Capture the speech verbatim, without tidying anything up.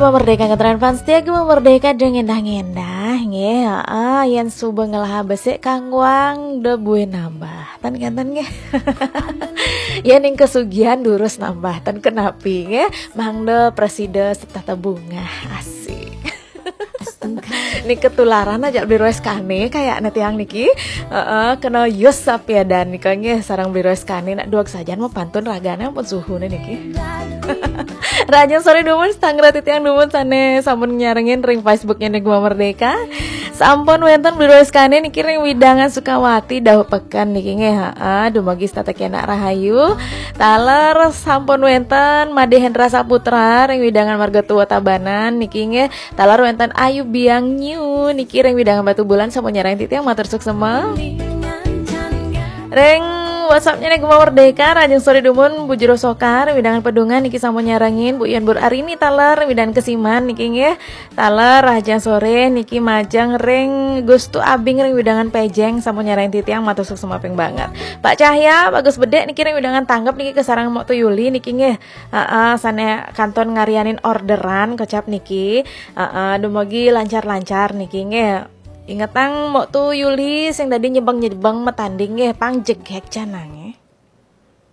Gema Merdeka ngetren fans setia Gema Merdeka, jangan endah-endah nggih. Heeh, yen suba ngelaha besik kangguang de buin nambah. Ten kenten nggih. Ya ning kesugihan durus nambah, ten kenapi nggih. Mangda presida setata bunga asik. Nika ketularan aja beli roes kane kayak tiang niki. Heeh, kena yus sapiadan nika nggih sarang beli roes kane nak duag sajan mau pantun ragane ampun suhune niki. Raja sore dumun, sangrati tiang dumun sane sampun nyarengin ring Facebooknya Gema Merdeka. Sampun wenten beli roes kane niki ring widangan Sukawati dawuh peken niki nggih. Heeh, dumugi setata kena rahayu. Taler sampun wenten Made Hendra Saputra ring widangan Marga Tua Tabanan niki nggih. Taler wenten Ayu Biang Nyu niki ring widangan Batu Bulan sampun nyarengin titiang, matur suksema. Ring WhatsApp-nya nih Gema Merdeka, Rajang Sore Dumun, Bu Jero Soka, ring widangan Pedungan niki sampun nyarengin, Bu Ian Bur Arini taler, ring widangan Kesiman niki nggih. Taler Rajang Sore niki majeng ring Gustu Abing ring widangan Pejeng sampun nyarengin titiang, matur suksema ping banget. Pak Cahya, Bagus Bedek niki ring widangan Tanggep niki kasareng Mok Tu Yuli niki nggih. Heeh, sane kantun ngaryanin orderan kocap niki. Heeh, dumugi lancar-lancar niki nggih. Ingetang Mok Tu Yuli sing dadi nyebeng-nyebeng matanding nggih, pang jegeg janange.